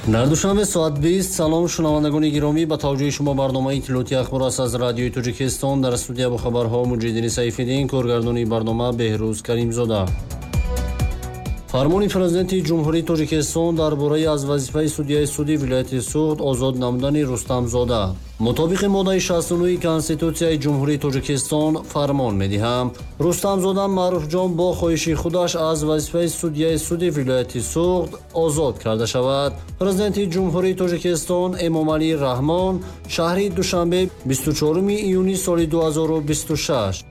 Дар Душанбе соат 20. Салом, шунавандагони гиромӣ, ба таваҷҷӯҳи шумо барномаи иттилоотии «Ахбор» аст аз Радиои Тоҷикистон. Дар студия бо хабарҳо Муҷиддини Сайфиддин, коргардони барнома Беҳрӯз Каримзода. Фармони Президенти Ҷумҳурии Тоҷикистон дар бораи аз вазифаи судяи суди вилояти Суғд озод намудани Рустамзода. Мутобиқи моддаи 69 Конститутсияи Ҷумҳурии Тоҷикистон фармон медиҳам: Рустамзода Маъруфҷон бо хоҳиши худаш аз вазифаи судяи суди вилояти Суғд озод карда шавад. Президенти Ҷумҳурии Тоҷикистон Эмомалӣ Раҳмон, шаҳри Душанбе, 24 июни соли 2026.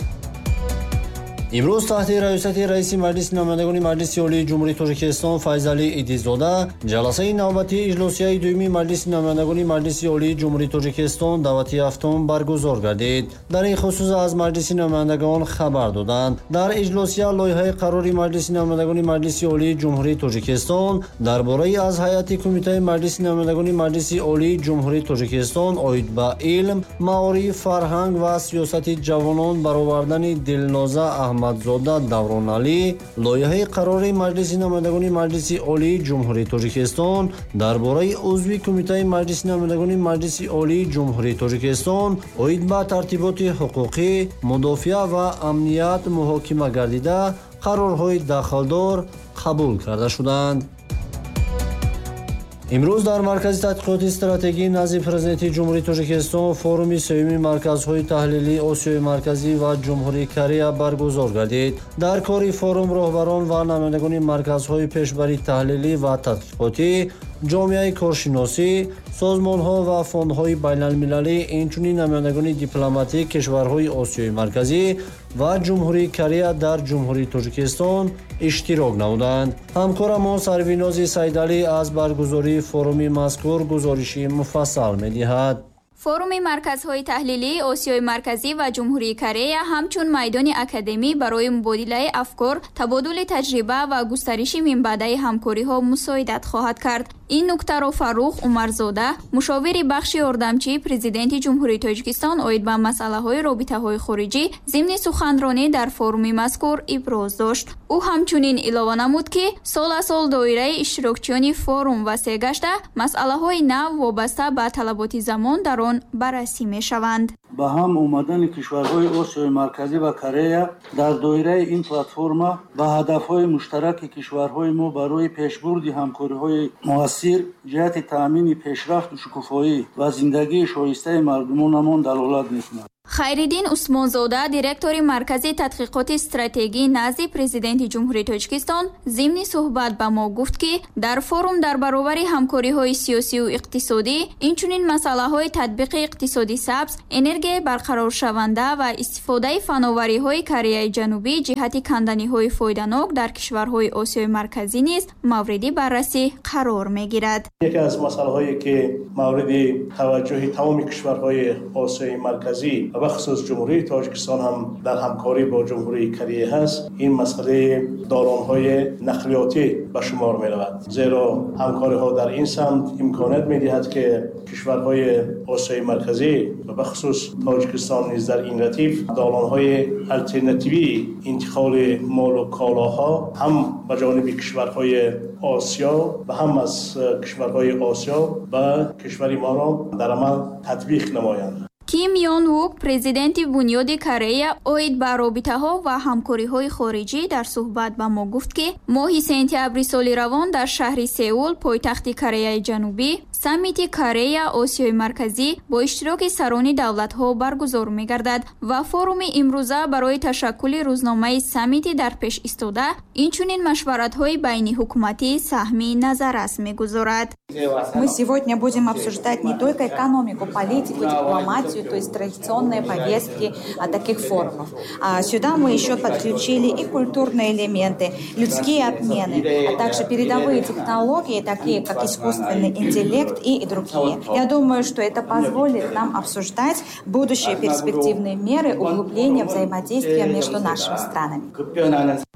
Имрӯз таҳти раёсати раиси Маҷлиси намояндагони Маҷлиси Олии Ҷумҳурии Тоҷикистон Файзалӣ Идизода ҷаласаи навбатии иҷлосияи дуюми Маҷлиси намояндагони Маҷлиси Олии Ҷумҳурии Тоҷикистон даъвати ҳафтум баргузор гардид. Дар ин хусус аз Маҷлиси намояндагон хабар доданд. Дар иҷлосия лоиҳаи қарори Маҷлиси намояндагони Маҷлиси Олии Ҷумҳурии Тоҷикистон дар бораи аз ҳайати Кумитаи Маҷлиси намояндагони Маҷлиси Олии Ҷумҳурии Тоҷикистон оид ба илм, маориф, фарҳанг ва сиёсати ҷавонон баровардани Дилноза Аҳмадзода Давроналӣ, лоиҳаи қарори Маҷлиси намояндагони Маҷлиси Олии Ҷумҳурии Тоҷикистон дар бораи узви Кумитаи Маҷлиси намояндагони Маҷлиси Олии Ҷумҳурии Тоҷикистон оид ба тартиботи ҳуқуқӣ, мудофиа ва амният муҳокима гардида, қарорҳои дахлдор қабул карда шуданд. Имрӯз дар Маркази тадқиқоти стратегӣ назди Президенти Ҷумҳурии Тоҷикистон форуми сеюми марказҳои таҳлилии Осиёи Марказӣ ва Ҷумҳурии Корея баргузор гардид. Дар кори форум роҳбарон ва намояндагони марказҳои пешбари таҳлилӣ ва тадқиқотӣ, ҷомеаи коршиносӣ, созмонҳо ва фондҳои байналмилалӣ, инчунин намояндагони дипломатии кишварҳои Осиёи Марказӣ ва Ҷумҳурии Корея дар Ҷумҳурии Тоҷикистон иштирок намуданд. Ҳамкорамон Сарвинози Сайдалӣ аз баргузории форуми мазкур гузориши муфассал медиҳад. Форуми марказҳои таҳлилии Осиёи Марказӣ ва Ҷумҳурии Корея ҳамчун майдони академӣ барои мубодилаи афкор, табодули таҷриба ва густариши минбаъдаи ҳамкориҳо мусоидат хоҳад кард. Ин нуктаро Фаррух Умарзода, мушовири бахши ёрдамчии Президенти Ҷумҳурии Тоҷикистон оид ба масъалаҳои робитаҳои хориҷӣ, зимни суханронӣ дар форуми мазкур иброз дошт. Ӯ ҳамчунин илова намуд, ки сол аз сол доираи иштирокчиёни форум васеъ гашта, масъалаҳои нав вобаста ба талаботи замон дар он баррасӣ мешаванд. Ба ҳам омадани кишварҳои Осиёи Марказӣ ва Корея дар доираи ин платформа ба ҳадафҳои муштараки кишварҳои мо барои пешбурди ҳамкориҳои муассир ҷиҳати таъмини пешрафту шукуфоӣ ва зиндагии шоистаи мардумонамон далолат мекунад. Хайриддин Усмонзода, директори Маркази тадқиқоти стратегӣ назди Президенти Ҷумҳурии Тоҷикистон, зимни суҳбат ба мо гуфт, ки дар форум дар баробари ҳамкориҳои сиёсию иқтисодӣ, инчунин масъалаҳои татбиқи иқтисоди сабз, энергияи барқароршаванда ва истифодаи фановариҳои Кореяи Ҷанубӣ ҷиҳати канданиҳои фоиданок дар кишварҳои Осиёи Марказӣ низ мавриди баррасӣ қарор мегирад. Яке аз масъалаҳое, ки мавриди таваҷҷӯҳи тамоми кишварҳои Осиёи Марказӣ ва бахусус Ҷумҳурии Тоҷикистон ҳам дар ҳамкорӣ бо Ҷумҳурии Корея ҳаст, ин масъалаи долонҳои нақлиётӣ ба шумор меравад. Зеро ҳамкориҳо дар ин самт имконият медиҳад, ки кишварҳои Осиёи Марказӣ ва бахусус Тоҷикистон низ дар ин радиф долонҳои алтернативии интиқоли молу колоҳо ҳам ба ҷониби кишварҳои Осиё ва ҳам аз кишварҳои Осиё ба кишвари моро дар амал татбиқ намоянд. Ким Йон Вук, президенти Бунёди Корея оид ба робитаҳо ва ҳамкориҳои хориҷӣ, дар суҳбат ба мо гуфт, ки моҳи сентябри соли равон дар шаҳри Сеул, пойтахти Кореяи Ҷанубӣ, саммити Корея Осиёи Марказӣ бо иштироки сарони давлатҳо баргузор мегардад ва форуми имрӯза барои ташаккули рӯзномаи саммити дар пеш истода, инчунин машваратҳои байниҳукуматӣ саҳми назаррас мегузорад. Мы сегодня будем обсуждать не только экономику, политику, дипломатию, то есть традиционные повестки таких форумов. А сюда мы еще подключили и культурные элементы, людские обмены, а также передовые технологии, такие как искусственный интеллект. и другие. Я думаю, что это позволит нам обсуждать будущие перспективные меры углубления взаимодействия между нашими странами.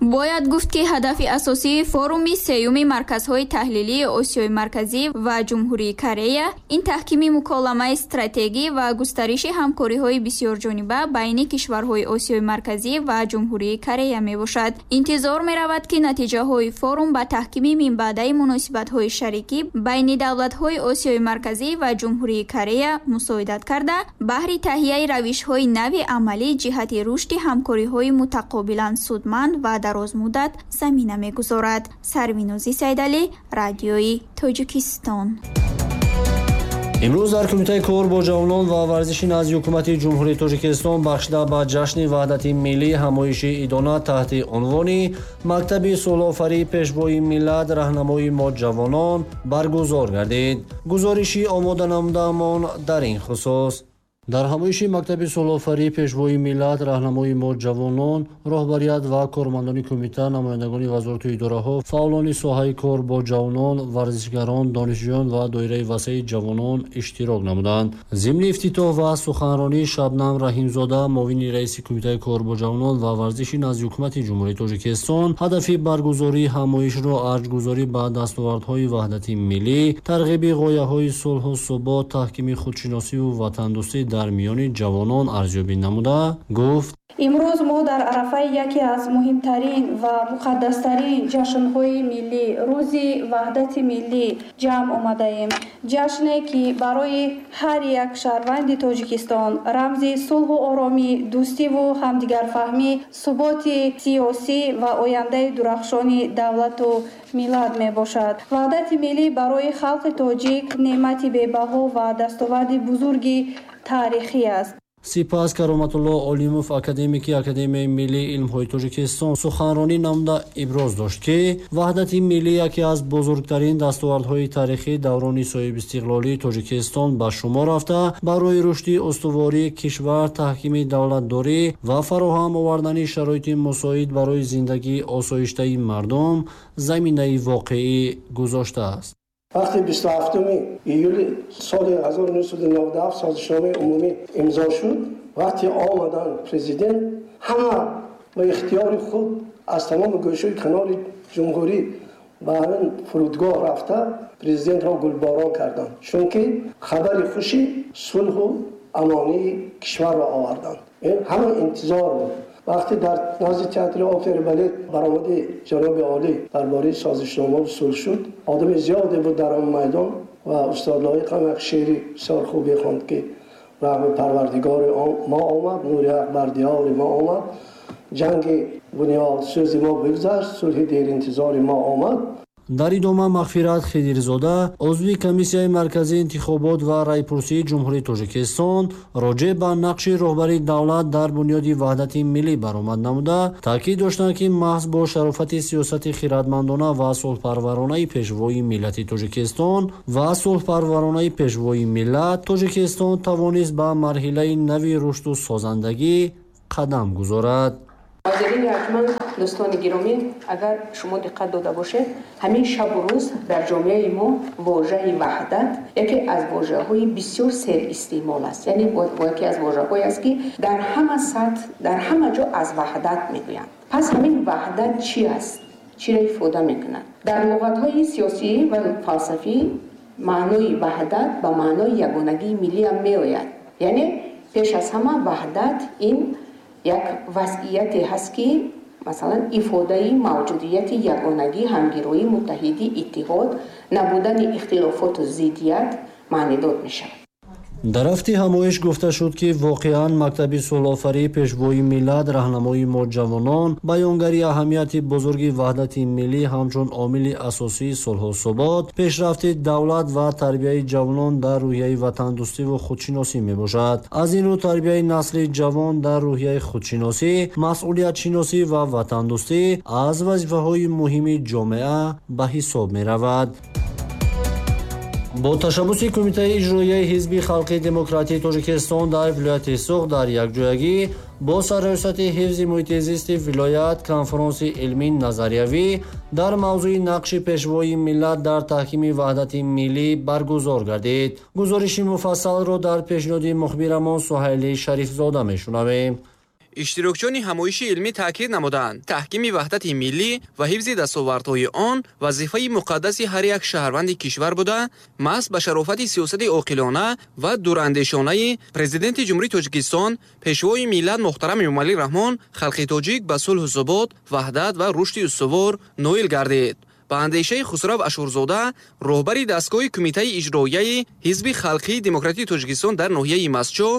Бояд гуфт, ки ҳадафи асосии форуми сеюми марказҳои таҳлилии Осиёи Марказӣ ва Ҷумҳурии Корея ин таҳкими муколамаи стратегӣ ва густариши ҳамкориҳои бисёрҷониба байни кишварҳои Осиёи Марказӣ ва Ҷумҳурии Корея мебошад. Интизор меравад, ки натиҷаҳои форум ба таҳкими минбаъдаи муносибатҳои шарикӣ байни давлатҳои Осиёи Марказӣ ва Ҷумҳурии Корея мусоидат карда, баҳри таҳияи равишҳои нави амалӣ ҷиҳати рушди ҳамкориҳои мутақобилан судманд ва дарозмуддат замина мегузорад. Сарвинозӣ Сайдалӣ, Радиои Тоҷикистон. Имрӯз дар Кумитаи кор бо ҷавонон ва варзиши назди Ҳукумати Ҷумҳурии Тоҷикистон бахшида ба ҷашни Ваҳдати миллӣ ҳамоиши идона таҳти унвони «Мактаби сулҳофарии Пешвои миллат, раҳнамои мо ҷавонон» баргузор гардид. Гузориши омода намудаамон дар ин хусус. Дар ҳамоиши мактаби сулҳофарии Пешвои миллат, раҳнамои мо ҷавонон, роҳбарият ва кормандони кумита, намояндагони вазорату идораҳо, фаъолони соҳаи кор бо ҷавонон, варзишгарон, донишҷӯён ва доираи васеи ҷавонон иштирок намуданд. Зимни ифтитоҳ ва суханронии Шабнам Раҳимзода, муовини раиси Кумитаи кор бо ҷавонон ва варзиши назди Ҳукумати Ҷумҳурии Тоҷикистон, ҳадафи баргузории ҳамоишро арҷгузорӣ ба дастовардҳои ваҳдати миллӣ, тарғиби ғояҳои сулҳу субот, таҳкими худшиносиву ватандӯстӣ дар миёни ҷавонон арзёбӣ намуда гуфт: Имрӯз мо дар арафаи яке аз муҳимтарин ва муқаддастарин ҷашнҳои миллӣ, Рӯзи Ваҳдати миллӣ ҷамъ омадаем. Ҷашне, ки барои ҳар як шаҳрванди Тоҷикистон рамзи сулҳу оромӣ, дӯстиву ҳамдигарфаҳмӣ, суботи сиёсӣ ва ояндаи дурахшони давлату миллат мебошад. Ваҳдати миллӣ барои халқи тоҷик неъмати бебаҳо ва дастоварди бузурги таърихӣ аст. Сипас Кароматулло Олимов, академики Академияи миллии илмҳои Тоҷикистон, суханронӣ намуда иброз дошт, ки ваҳдати миллӣ яке аз бузургтарин дастовардҳои таърихии даврони соҳибистиқлолии Тоҷикистон ба шумор рафта, барои рушди устувории кишвар, таҳкими давлатдорӣ ва фароҳам овардани шароити мусоид барои зиндагии осоиштаи мардум заминаи воқеӣ гузоштааст. Вақти 27 июли соли 1997 созишномаи умумӣ имзо шуд, вақти омадан президент, ҳама ба ихтиёри худ аз тамоми гӯшаи канори ҷумҳурӣ ба ҳамин фурудгоҳ рафта, президентро гулборон карданд, чунки хабари хуши сулҳу амонии кишварро оварданд. Ҳама интизор буд. Вақте дар назди театри опери балет баромади ҷаноби олӣ дар бораи созишномаву сулҳ шуд, одами зиёде буд дар он майдон ва устод Лоиқ ҳам як шеъри бисёр хубе хонд, ки раҳми Парвардигори мо омад, нури ҳақ бар диёри мо омад, ҷанги бунёдсӯзи мо бигзашт, сулҳи деринтизори мо омад. Дар идома Мағфират Хидирзода, узви Комиссияи марказии интихобот ва райпурсии Ҷумҳурии Тоҷикистон, роҷеъ ба нақши роҳбари давлат дар бунёди ваҳдати миллӣ баромад намуда, таъкид доштанд, ки маҳз бо шарофати сиёсати хиратмандона ва сулҳпарваронаи Пешвои миллати Тоҷикистон ва сулҳпарваронаи Пешвои миллат Тоҷикистон тавонист ба марҳилаи нави рушду созандагӣ қадам гузорад. Ҳозирини арҷманд, дӯстони гиромӣ, агар шумо диққат дода бошед, ҳамин шабу рӯз дар ҷомеаи мо вожаи ваҳдат яке аз вожаҳои бисёр серистеъмол аст. Яъне яке аз вожаҳое аст, ки дар ҳама сатҳ, дар ҳама ҷо аз ваҳдат мегӯянд. Пас ҳамин ваҳдат чӣ аст? Чиро ифода мекунад? Дар луғатҳои сиёсӣ ва фалсафӣ маънои ваҳдат ба маънои ягонагии миллӣ ҳам меояд. Яъне пеш аз ҳама ваҳдат ин як вазъияте ҳаст, ки масалан ифодаи мавҷудияти ягонагӣ, ҳамгироӣ, муттаҳидӣ, иттиҳод, набудани ихтилофоту зиддият маънидод мешавад. Дар рафти ҳамоиш гуфта шуд, ки воқеан мактаби сулҳофарии Пешвои миллат, раҳнамои мо ҷавонон баёнгари аҳамияти бузурги ваҳдати миллӣ ҳамчун омили асосии сулҳу субот, пешрафти давлат ва тарбияи ҷавонон дар рӯҳияи ватандӯстиву худшиносӣ мебошад. Аз ин рӯ тарбияи насли ҷавон дар рӯҳияи худшиносӣ, масъулиятшиносӣ ва ватандӯстӣ аз вазифаҳои муҳими ҷомеа ба ҳисоб меравад. Бо ташаббуси Кумитаи иҷроияи Ҳизби халқи демократии Тоҷикистон дар вилояти Суғд дар якҷоягӣ Бо сарраёсати ҳифзи муҳити зисти вилоят конфронси илмии назариявӣ дар мавзӯи нақши пешвои миллат дар таҳкими ваҳдати миллӣ баргузор гардид. Гузориши муфассалро дар пешниҳоди мухбирамон Суҳайли Шарифзода мешунавем. Иштирокчиёни ҳамоиши илмӣ таъкид намуданд, таҳкими ваҳдати миллӣ ва ҳифзи дастовардҳои он вазифаи муқаддаси ҳар як шаҳрванди кишвар буда, маҳз ба шарофати сиёсати оқилона ва дурандешонаи Президенти Ҷумҳурии Тоҷикистон, Пешвои миллат муҳтарам Эмомалӣ Раҳмон халқи тоҷик ба сулҳу субот, ваҳдат ва рушди устувор ноил гардид. Ба андешаи Хусрав Ашурзода, роҳбари дастгоҳи Кумитаи иҷроияи Ҳизби халқии демократии Тоҷикистон дар ноҳияи Мастчоҳ,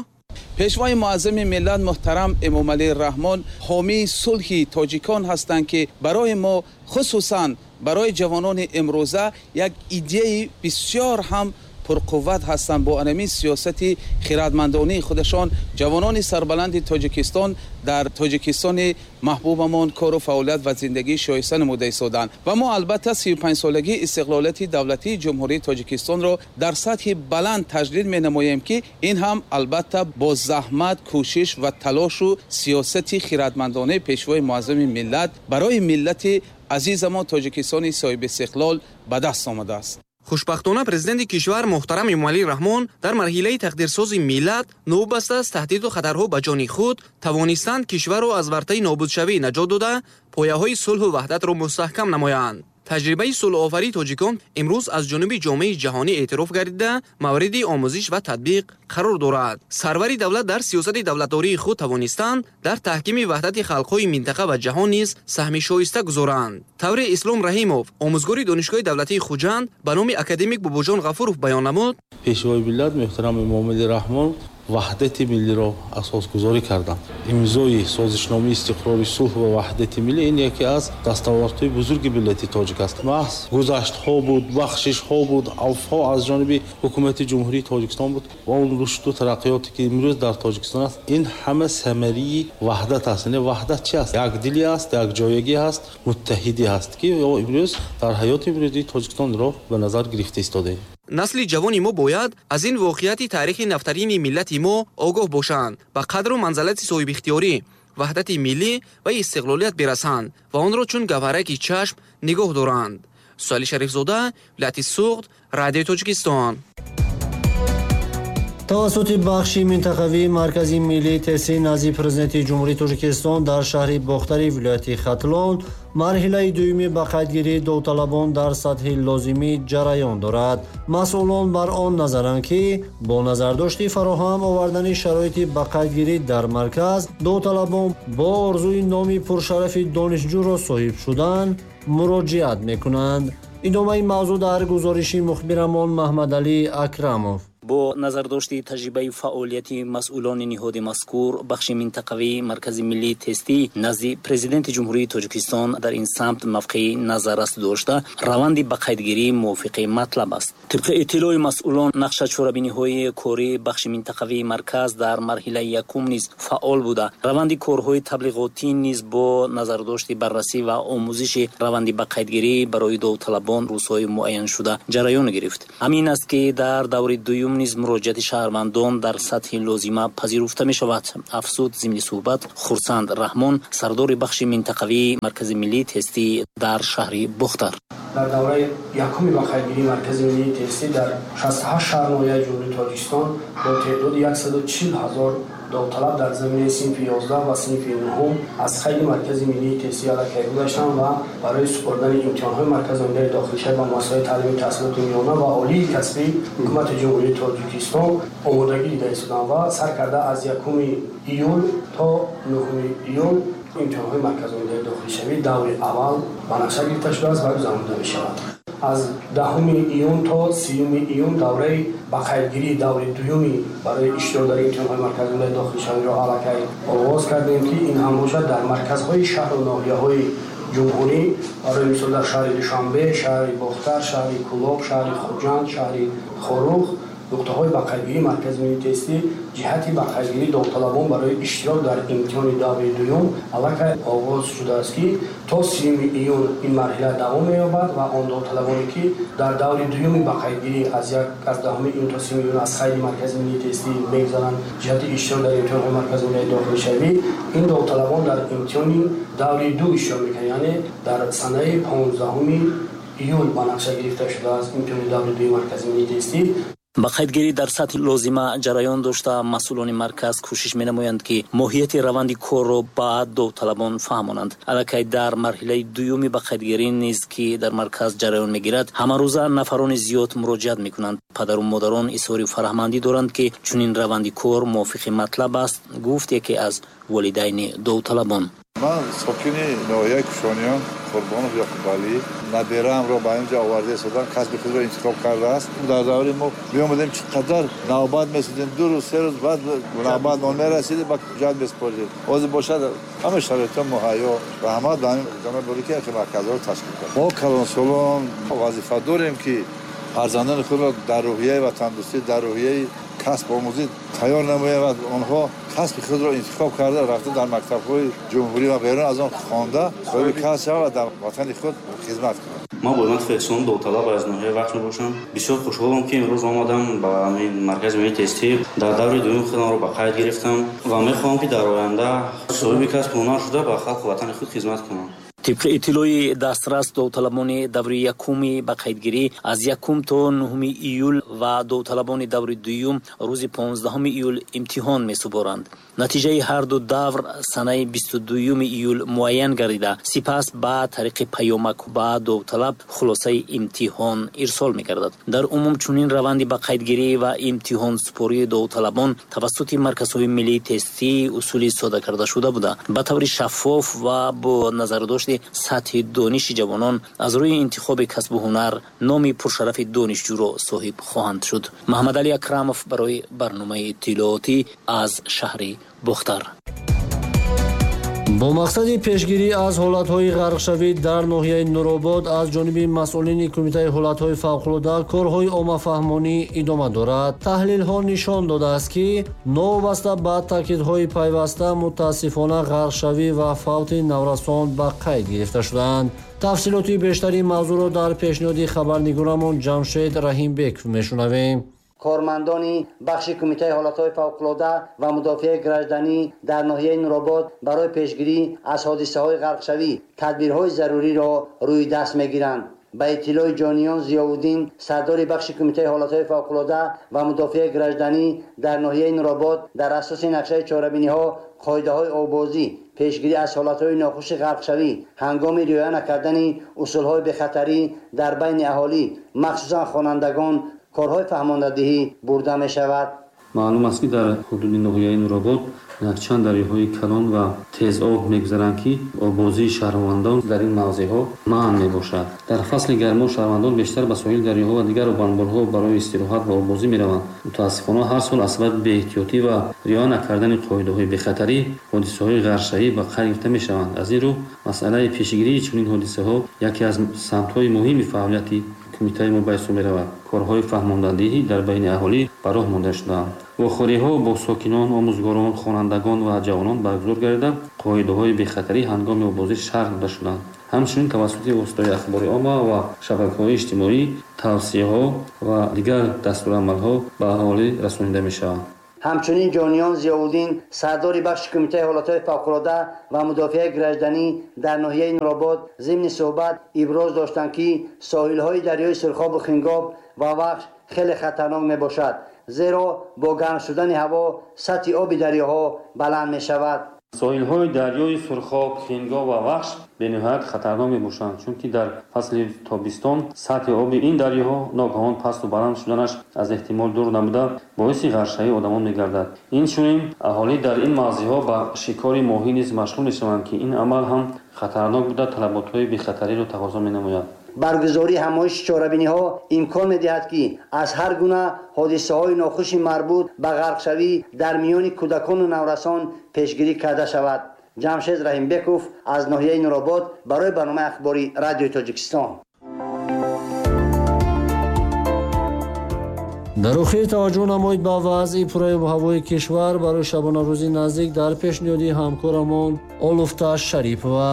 Пешвои муаззами миллат муҳтарам Эмомалӣ Раҳмон ҳомии сулҳи тоҷикон ҳастанд, ки барои мо, хусусан барои ҷавонони имрӯза, як идеяи бисёр ҳам пурқувват ҳастанд. Бо анамин сиёсати хирадмандонии худашон ҷавонони сарбаланди Тоҷикистон дар Тоҷикистони маҳбубамон кору фаъолият ва зиндагии шоиста намуда истоданд. Ва мо албатта 35-солагии истиқлолияти давлатии Ҷумҳурии Тоҷикистонро дар сатҳи баланд таҷлил менамоем, ки ин ҳам албатта бо заҳмат, кӯшиш ва талошу сиёсати хирадмандонаи Пешвои муаззами миллат барои миллати азизамон Тоҷикистони соҳибистиқлол ба даст омадааст. Хушбахтона, президенти кишвар муҳтарам Эмомалӣ Раҳмон дар марҳилаи тақдирсози миллат, новобаста аз таҳдиду хатарҳо ба ҷони худ, тавонистанд кишварро аз вартаи нобудшавӣ наҷот дода, пояҳои сулҳу ваҳдатро мустаҳкам намоянд. Таҷрибаи сулҳофарии тоҷикон имрӯз аз ҷониби ҷомеаи ҷаҳонӣ эътироф гардида, мавриди омӯзиш ва татбиқ қарор дорад. Сарвари давлат дар сиёсати давлатдории худ тавонистанд дар таҳкими ваҳдати халқҳои минтақа ва ҷаҳон низ саҳми шоиста гузоранд. Тавре Ислом Раҳимов, омӯзгори Донишгоҳи давлатии Хуҷанд ба номи академик Бобоҷон Ғафуров баён намуд: Пешвои миллат муҳтарам Эмомалӣ Раҳмон ваҳдати миллиро асосгузорӣ карданд. Имзои созишномаи истиқрори сулҳ ва ваҳдати миллӣ ин яке аз дастовардҳои бузурги миллати тоҷик аст. Маҳз гузаштҳо буд, бахшишҳо буд, авфҳо аз ҷониби ҳукумати Ҷумҳурии Тоҷикистон буд ва он рушду тараққиёте ки имрӯз дар Тоҷикистон аст, ин ҳама самарии ваҳдат аст. Яъне ваҳдат чи аст? Якдилӣ аст, якҷоягӣ аст, муттаҳидӣ аст, ки имрӯз дар ҳаёти имрӯзии Тоҷикистонро ба назар гирифта истодаем. Насли ҷавони мо бояд аз ин воқеияти таърихи нафтарини миллати мо огоҳ бошанд, ба қадру манзалати соҳибихтиёрӣ, ваҳдати миллӣ ва истиқлолият бирасанд ва онро чун гавҳараки чашм нигоҳ доранд. Суҳайли Шарифзода, вилояти Суғд, Радиои Тоҷикистон. Тавассути бахши минтақавии Маркази миллии тестӣ назди Президенти Ҷумҳурии Тоҷикистон дар шаҳри Бохтари вилояти Хатлон марҳилаи дуюми ба қайдгирии довталабон дар сатҳи лозимӣ ҷараён дорад. Масъулон бар он назаранд, ки бо назардошти фароҳам овардани шароити ба қайдгирӣ дар марказ, довталабон бо орзуи номи пуршарафи донишҷӯро соҳиб шудан муроҷиат мекунанд. Идомаи мавзӯъ дар гузориши мухбирамон Маҳмадалӣ Акрамов. Бо назардошти таҷрибаи фаъолияти масъулони ниҳоди мазкур, бахши минтақавии Маркази миллии тестӣ назди Президенти Ҷумҳурии Тоҷикистон дар ин самт мавқеи назаррас дошта, раванди ба қайдгирӣ мувофиқи матлаб аст. Тибқи иттилои масъулон, нақша чорабиниҳои кории бахши минтақавии марказ дар марҳилаи якум низ фаъол буда, раванди корҳои таблиғотӣ низ бо назардошти баррасӣ ва омӯзиши раванди ба қайдгирӣ барои довталабон рӯзҳои муайяншуда ҷараён гирифт. Ҳамин аст, ки дар даври дуюм низ муроҷиати шаҳрвандон дар сатҳи лозима пазируфта мешавад, афзуд зимни суҳбат Хурсанд Раҳмон, сардори бахши минтақавии Маркази миллии тестӣ дар шаҳри Бохтар. Дар давраи якуми ба қайдгирии Маркази миллии тестӣ дар 68 шаҳр ноҳияи Ҷумҳурии Тоҷикистон бо теъдоди 140 ҳазор довталаб дар заминаи синфи 11 ва синфи 9 аз қайди Маркази миллии тестӣ аллакай гузаштанд ва барои супоридани имтиҳонҳои марказонидаи дохилшавӣ ба муассисаҳои таълими таҳсилоти миёна ва олии касбии Ҳукумати Ҷумҳурии Тоҷикистон омодагӣ дида истоданд ва сар карда аз 1 июл то 9 июл имтиҳонҳои марказонидаи дохилшавӣ даври аввал ба нақша гирифта шудааст ва гузаронида мешавад. Аз 10 июн то 30 июн давраи ба қайдгирии даври дуюми барои иштирок дар имтиҳонҳои марказонидаи дохилшавиро аллакай оғоз кардем, ки ин ҳам бошад дар марказҳои шаҳру ноҳияҳои ҷумҳурӣ, барои мисол дар шаҳри Душанбе, шаҳри Бохтар, шаҳри Кӯлоб, шаҳри Хуҷанд, шаҳри Хоруғ Нуқтаҳои ба қайдгирии Маркази миллии тестӣ ҷиҳати ба қайдгирии довталабон барои иштирок дар имтиҳони даври дуюм аллакай оғоз шудааст, ки то 30 июн ин марҳила давом меёбад ва он довталабоне, ки дар даври дуюми ба қайдгирӣ аз 10 июн то 30 июн аз қайди Маркази миллии тестӣ мегузаранд ҷиҳати иштирок дар имтиҳонҳои Маркази миллии дохилшавӣ, ин довталабон дар имтиҳони даври ду иштирок мекунанд, яъне дар санаи 15 июл ба нақша гирифта шудааст имтиҳони даври дуюми Маркази миллии тестӣ. Ба қайдгирӣ дар сатҳи лозима ҷараён дошта, масъулони марказ кӯшиш менамоянд, ки моҳияти раванди корро ба довталабон фаҳмонанд. Аллакай дар марҳилаи дуюми ба қайдгирӣ низ, ки дар марказ ҷараён мегирад, ҳамарӯза нафарони зиёд муроҷиат мекунанд. Падару модарон изҳори фараҳмандӣ доранд, ки чунин раванди кор мувофиқи матлаб аст, гуфт яке аз волидайни довталабон. Ман сокини ноҳияи Кушониён, Қурбонов Ёқубалӣ, набераамро ба инҷо оварда истодам, касби худро интихоб кардааст. Дар даври мо биомадем, чӣ қадар навбат месудем, 2 рӯз, 3 рӯз баъд навбат мо мерасидем, ба ҳуҷҷат месупоридем. Ҳозир бошад, ҳама шароитҳо муҳайё. Раҳмат ба ҳамин ҷаноби олӣ, ки марказҳоро ташкил кард. Мо калонсолон вазифа дорем, ки фарзандони худро дар рӯҳияи ватандӯстӣ, дар рӯҳияи касб омӯзӣ тайёр намоем ва онҳо касби худро интихоб карда, рафта дар мактабҳои ҷумҳурӣ ва берун аз он хонда, соҳиби касб шаванд ва дар ватани худ хизмат кунанд. Ман Бойматов Эҳсон, довталаб аз ноҳияи Вахш мебошам. Бисёр хушҳолам, ки имрӯз омадам ба маркази миллии тестӣ. Дар даври дуюм худамро ба қайд гирифтам ва мехоҳам, ки дар оянда соҳиби касб ҳунар шуда ба халқу ватани худ хизмат кунам. Тибқи иттилои дастрас, довталабони даври якуми ба қайдгирӣ аз 1 то 9 июл ва довталабони даври дуюм рӯзи 15 июл имтиҳон месупоранд. Натиҷаи ҳар ду давр санаи 22 июл муайян гардида, сипас ба тариқи паёмак ба довталаб хулосаи имтиҳон ирсол мегардад. Дар умум чунин раванди ба қайдгирӣ ва имтиҳонсупории довталабон тавассути марказҳои миллии тестӣ усули сода карда шуда буда, ба таври шаффоф ва бо назардошти сатҳи дониши ҷавонон аз рӯи интихоби касбу ҳунар номи пуршарафи донишҷӯро соҳиб хоҳанд шуд. Маҳмадалӣ Акрамов барои барномаи иттилоотӣ аз шаҳри Бохтар. Бо мақсади пешгирӣ аз ҳолатҳои ғарқшавӣ дар ноҳияи Нуробод аз ҷониби масъулини Кумитаи ҳолатҳои фавқулода корҳои оммафаҳмонӣ идома дорад. Таҳлилҳо нишон додааст, ки новобаста ба таъкидҳои пайваста, мутаассифона ғарқшавӣ ва фавти наврасон ба қайд гирифта шудаанд. Тафсилоти бештари мавзӯъро дар пешниҳоди хабарнигорамон Ҷамшед Раҳимбеков мешунавем. Кормандони бахши Кумитаи ҳолатҳои фавқулода ва мудофиаи гражданӣ дар ноҳияи Нуробод барои пешгирӣ аз ҳодисаҳои ғарқшавӣ тадбирҳои заруриро рӯи даст мегиранд. Ба иттилои Ҷониён Зиёвуддин, сардори бахши Кумитаи ҳолатҳои фавқулода ва мудофиаи гражданӣ дар ноҳияи Нуробод, дар асоси нақшаи чорабиниҳо, қоидаҳои оббозӣ, пешгирӣ аз ҳолатҳои нохуши ғарқшавӣ ҳангоми риоя накардани усулҳои бехатарӣ дар байни аҳолӣ, махсусан хонандагон, корҳои фаҳмондадиҳӣ бурда мешавад. Маълум аст, ки дар ҳудуди ноҳияи Нуробод якчанд дарёҳои калон ва тезоб мегузаранд, ки оббозии шаҳрвандон дар ин мавзеъҳо манъ мебошад. Дар фасли гармо шаҳрвандон бештар ба соҳили дарёҳо ва дигар обанборҳо барои истироҳат ва оббозӣ мераванд. Мутаассифона, ҳар сол аз сабаби беэҳтиётӣ ва риоя накардани қоидаҳои бехатарӣ ҳодисаҳои ғарқшавӣ ба қайд гирифта мешаванд. Аз ин рӯ масъалаи пешгирии чунин ҳодисаҳо яке аз самтҳои муҳими фаъолияти кумитаи мо ба ҳисоб меравад. Корҳои фаҳмондадиҳӣ дар байни аҳолӣ ба роҳ монда шудаанд. Вохӯриҳо бо сокинон, омӯзгорон, хонандагон ва ҷавонон баргузор гардида, қоидаҳои бехатарӣ ҳангоми оббозӣ шарҳ дода шуданд. Ҳамчунин тавассути воситаҳои ахбори омма ва шабакаҳои иҷтимоӣ тавсияҳо ва дигар дастурамалҳо ба аҳолӣ расонида мешаванд. Ҳамчунин Ҷониён Зиёвуддин, сардори бахши Кумитаи ҳолатҳои фавқулода ва мудофиаи гражданӣ дар ноҳияи Нуробод, зимни суҳбат иброз доштанд, ки соҳилҳои дарёи Сурхобу Хингоб ва Вахш хеле хатарнок мебошад, зеро бо гарм шудани ҳаво сатҳи оби дарёҳо баланд мешавад. Соҳилҳои дарёи Сурхоб, Хингоб ва Вахш бениҳоят хатарнок мебошанд, чунки дар фасли тобистон сатҳи оби ин дарёҳо ногаҳон пасту баланд шуданаш аз эҳтимол дур набуда, боиси ғарқшавии одамон мегардад. Инчунин аҳолӣ дар ин мавзеъҳо ба шикори моҳӣ низ машғул мешаванд, ки ин амал ҳам хатарнок буда, талаботҳои бехатариро тақозо менамояд. Баргузории ҳамоиши чорабиниҳо имкон медиҳад, ки аз ҳар гуна ҳодисаҳои нохуши марбут ба ғарқшавӣ дар миёни кӯдакону наврасон пешгирӣ карда шавад. Ҷамшед Раҳимбеков аз ноҳияи Нуробод барои барномаи ахбори Радиои Тоҷикистон. Дар охир таваҷҷӯҳ намоед ба вазъи пурраи обуҳавои кишвар барои шабонарӯзи наздик дар пешниҳоди ҳамкорамон Олуфта Шарипова.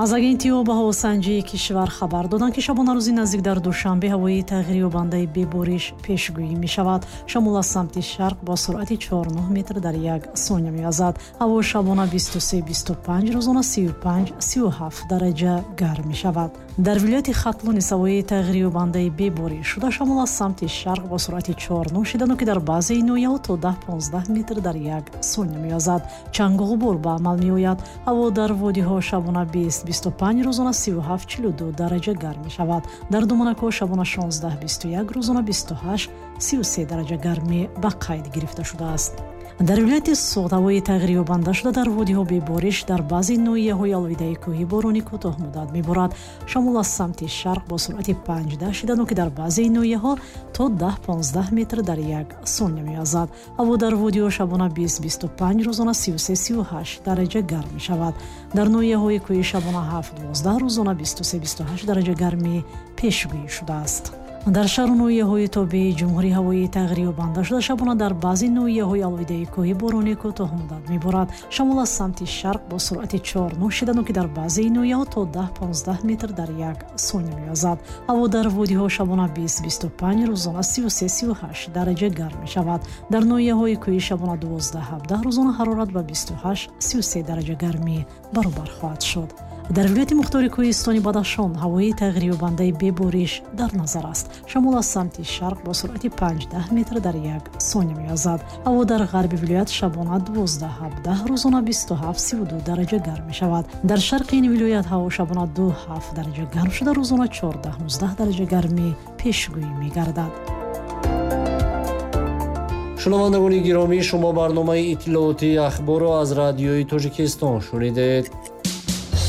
Аз агентии обуҳавосанҷии кишвар хабар доданд, ки шабонарӯзи наздик дар Душанбе ҳавои тағйирёбандаи бебориш пешгӯӣ мешавад. Шамол аз самти шарқ бо суръати 4,9 метр дар як сония мевазад. Ҳаво шабона 23-25, рӯзона 35-37 дараҷа гарм мешавад. Дар вилояти Хатлон низ ҳавои тағйирёбандаи бебориш шуда, шамол аз самти шарқ бо суръати 4,9 шидану ки дар баъзеи ноҳияҳо то 10-15 метр дар як сония мевазад. Чангу ғубор ба амал меояд. Ҳаво дар водиҳо шабона 20-25, рӯзона 37-42 дараҷа гарм мешавад. Дар Думанакҳо шабона 16-21, рӯзона 28-33 дараҷа гармӣ ба қайд гирифта шудааст. Дар вилояти Суғд ҳавои тағйирёбанда шуда, дар водиҳо бебориш, дар баъзе ноҳияҳои алоҳидаи кӯҳӣ борони кӯтоҳмуддат меборад. Шамол аз самти шарқ бо суръати 5,10 шидану ки дар баъзе ноҳияҳо то 10-15 метр дар як сония мевазад. Ҳаво дар водиҳо шабона 20-25, рӯзона 33-38 дараҷа гарм мешавад. Дар ноҳияҳои кӯҳӣ шабона 7-12, рӯзона 23-28 дараҷа гармӣ пешгӯӣ шудааст. Дар шаҳру ноҳияҳои тобеи ҷумҳурӣ ҳавои тағйирёбанда шуда, шабона дар баъзе ноҳияҳои алоҳидаи кӯҳӣ борони кӯтоҳмуддат меборад. Шамол аз самти шарқ бо суръати 4,9 шидану ки дар баъзе ноҳияҳо то 10-15 метр дар як сония мевазад. Ҳаво дар водиҳо шабона 20-25, рӯзона 33-38 дараҷа гарм мешавад. Дар ноҳияҳои кӯҳӣ шабона 12-17, рӯзона ҳарорат ба 28-33 дараҷа гармӣ баробар хоҳад шуд. Дар вилояти мухтори кӯҳистони Бадахшон ҳавои тағйирёбандаи бебориш дар назар аст. Шамол аз самти шарқ бо суръати 5,10 метр дар як сония мевазад. Ҳаво дар ғарби вилоят шабона 12-17, рӯзона 27-32 дараҷа гарм мешавад. Дар шарқи ин вилоят ҳаво шабона 2,7 дараҷа гарм шуда, рӯзона 14-19 дараҷа гармӣ пешгӯӣ мегардад. Шунавандагони гиромӣ, шумо барномаи иттилоотии ахборро аз Радиои Тоҷикистон шунидед.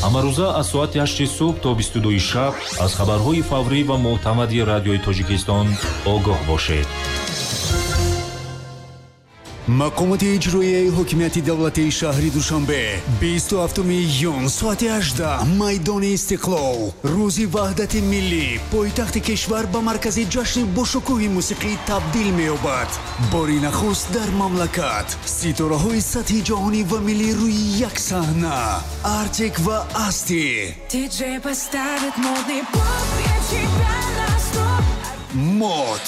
Ҳамарӯза аз соати 8 субҳ то 22 шаб аз хабарҳои фаврӣ ва мӯътамади Радиои Тоҷикистон огоҳ бошед. Мақомоти иҷроияи ҳокимияти давлатии шаҳри Душанбе 27 июн соати 18 майдони Истиқлол, рӯзи ваҳдати миллӣ, пойтахти кишвар ба маркази ҷашни бошукӯҳи мусиқӣ табдил меёбад. Бори нахуст дар мамлакат ситораҳои сатҳи ҷаҳонӣ ва миллӣ рӯи як саҳна. Артик ва Асти, Диджей поставит модный поп, я тебя на стоп. Мод,